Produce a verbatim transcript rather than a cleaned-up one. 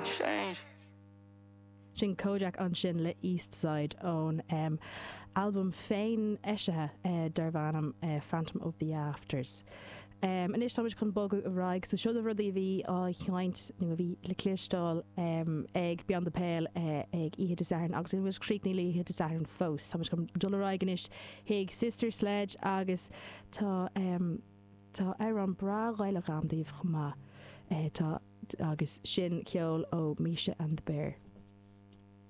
can change. Sin Kojaque ansin le East Side ón um, albam féin eisithe uh, darb ainm uh, Phantom of the Afters. Um, Anois táimid chun bogadh ar aghaidh, so seo na rudaí a bhí á sheinnt nó a bhí le cloisteáil um, ag Beyond the Pale uh, ag Oíche Dé Sathairn agus bhfuil críochnaithe le Oíche Dé Sathairn fós. Táimid chun dul ar aghaidh anois chuig Sister Sledge agus tá um, tá amhrán breá Gaelach agam daoibh chomh maith uh, tá agus sin ceol ó Misha and the Bear.